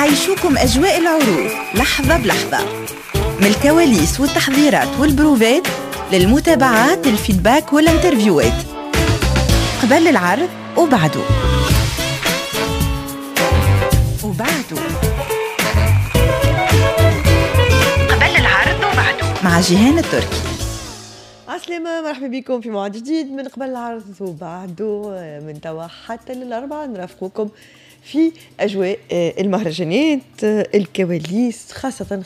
نعيشوكم أجواء العروض لحظة بلحظة، من الكواليس والتحضيرات والبروفات للمتابعات، ال feedback وال interview ات قبل العرض وبعده. قبل العرض وبعده مع جيهان التركي. عسلامة، مرحبا بكم في موعد جديد من قبل العرض وبعده. من توا حتى للأربعة نرافقكم في أجواء المهرجانات، الكواليس، خاصة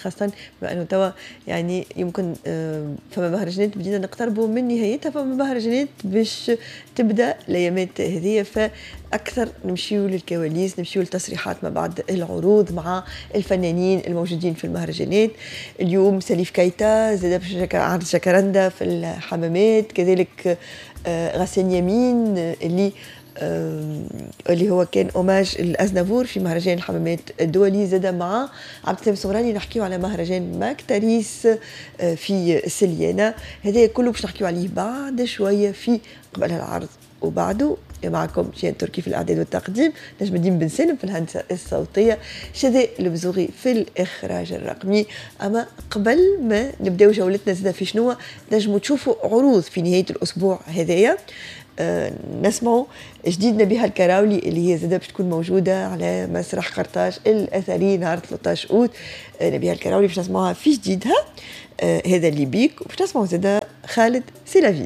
بما أنه توا يعني يمكن فما مهرجانات بدينا نقتربوا من نهايتها، فما مهرجانات باش تبدا الايامات هذه، فاكثر نمشيو للكواليس، نمشيو لتصريحات ما بعد العروض مع الفنانين الموجودين في المهرجانات. اليوم سليف كايتا زاد باش عرض جاكراندا في الحمامات، كذلك غسان يمين اللي هو كان hommage لأزنافور في مهرجان الحمامات الدولي، زاد مع عبد السلام الصغراني نحكيو على مهرجان ماكتاريس في سليانة. هذا كله باش نحكيو عليه بعد شوية في قبل العرض وبعده. معكم جيهان تركي في الإعداد والتقديم، نجم الدين بن سالم في الهندسة الصوتية، شذى البزوغي في الإخراج الرقمي. أما قبل ما نبداو جولتنا زاد في شنو نجموا تشوفوا عروض في نهاية الأسبوع هذايا، نسمعوا جديد نبيهة الكراولي اللي هي زادة باش تكون موجودة على مسرح قرطاج الأثري نهار 13 أوت. نبيهة الكراولي باش نسمعوها في جديدها، هذا اللي بيك، وباش نسمعوا زادة خالد سيلافي.